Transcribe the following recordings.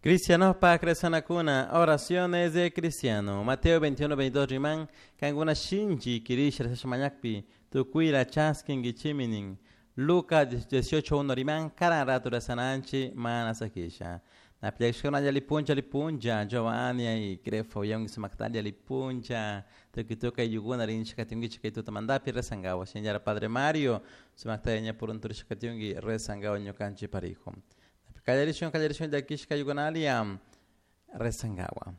Cristianopak rezanakuna, oraciones de cristiano. Mateo 21, 22 riman, kankuna shinchi kirisha rezasha mañakpi, tukuyla chaskinkichimi nin. Lucas 18, 1 riman, karan rato rezananchi mana sakisha. Napiakshkuna alli puncha alli puncha, Giovanni ay Grefa uyangi sumaktalla alli puncha, tukuy tukuy ayllunkuna rinchik katinkichik kay tutamantapi rezankawa. Shinallara Padre Mario, sumakta ña purunturishka katinki rezankawa ñukanchik parijo. Kallarishun kallarishun llakishka ayllukunalla rezankawa.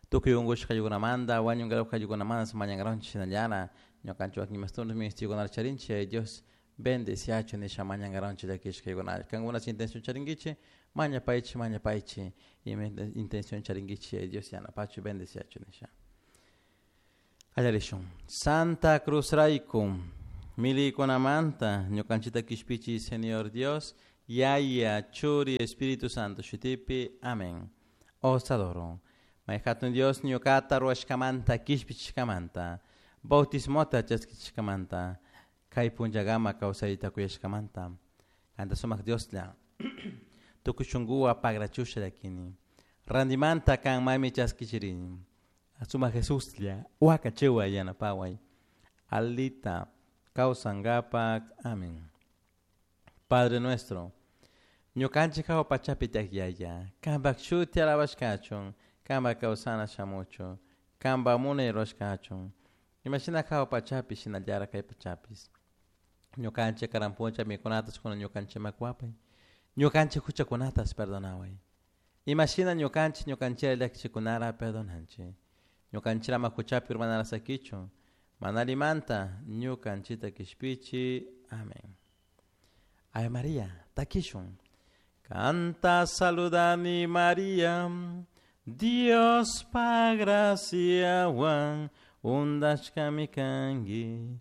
Tukuy unkushka ayllukunamanta, wañunkarawak ayllukunamanta mañankaranchik shinallara ñukanchik wakin imastunchik ministiykunata charinchik ay Dios bendeciachun nisha mañankaranchik llakishka ayllukunalla. Kankuna intención charinkichik mañapaychik mañapaychik ima intención charinkichik ay Dios yanapachu bendeciachun nisha. Kallarishun. Santa Cruz rayku millaykunamanta ñukanchikta kishpichi Señor Dios Yaya, Churi, Espíritu Santo shutipi. Amén. Os adoro. May hatun Dios ñuqata ruwashkamanta kishpichishkamanta bautismota chaskichishkamanta kay punllakama kawsayta kuyashkamanta kanta sumak Dioslla tukuy shunkuwan pagrachusha llakini rantimanta kan maymi chaskichirini sumak Jesuslla wakachiway yanapaway alita kawsankapak. Amén. Padre nuestro, ñukanchik hawa pachapi tiyak Yaya, kanpak shuti alabashkachun, kanpak kawsana shamuchun, kanpak munay rurashkachun, imashina hawa pachapi shinallara kay pachapis. Ñukanchik karan puncha mikunatas kunan ñukanchikman kuwapay, ñukanchik huchakunatas perdonaway. Imashina ñukanchik ñukanchikta llakichikunara perdonanchik. Ñukanchik ama huchapi urmanara sakichun, mana allimanta ñukanchikta kishpichi. Amén. Ave María, takishun. Kanta saludani María, Diospa graciawan undashkami kanki.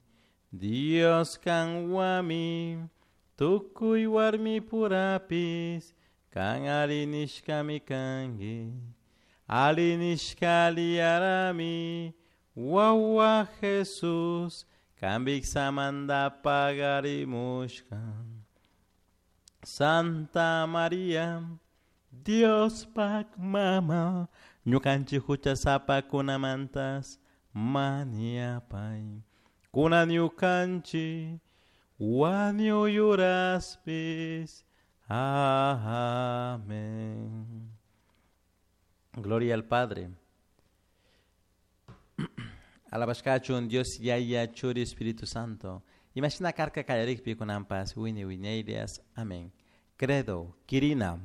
Dios kanwami, tukuy warmi purapis, kan ari nishkami kanki. Ali nishka aliyarami, wawa Jesús, kan viksamanta pagarimushka. Santa María, Diospak mama, ñukanchik huchasapakunamantas mañapay. Kunan ñukanchik wañuy uraspis. Amén. Gloria al Padre. Alabashkachun Dios Yaya Churi Espíritu Santo. Imashina karka kallarikpi kunanpas wiñay wiñaylias. Amén. Credo, Kirina.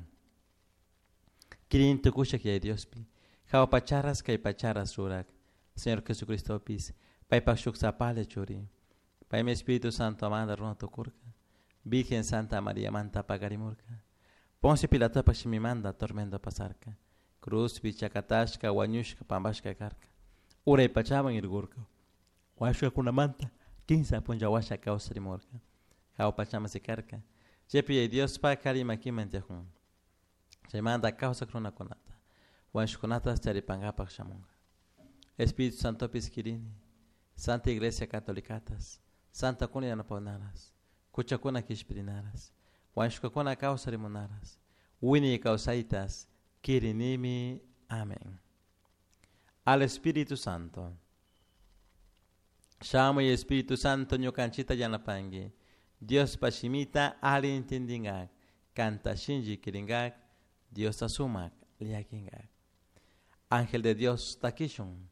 Kirin tukushak Yaya Diospi. Hawa pacharas kay pacharas rurak. Señor Jesucristopis. Paypak shuk sapalla churi. Paymi Espíritu Santo manta runa tukurka. Virgen Santa María manta pakarimurka. Poncio Pilatopak shimimanta tormento pasarka. Cruzpi chakatashka wañushka pampashka karka. Uray pachaman irkurka. Wañushkakunamanta kinsa punlla washa kawsarimurka. Hawa pachaman sikarka. Chaypi Yaya Diospak kari makiman tiyakun. Chaymanta kawsak runakunata. Wañushkunatas charipankapak shamunka. Espíritu Santopis kirini. Santa Iglesia Catolicatas. Santa kuna yanapawnaras. Huchakuna kishpirinaras. Wañushkakuna kawsarimunaras. Wiñay kawsaytas kirinimi. Amén. Al Espíritu Santo. Shamuy Espíritu Santo ñukanchikta yanapanki. Diospa shimita alli entendinkak. Kanta shinchi kirinkak. Diosta sumak llakinkak. Ángel de Dios takishun.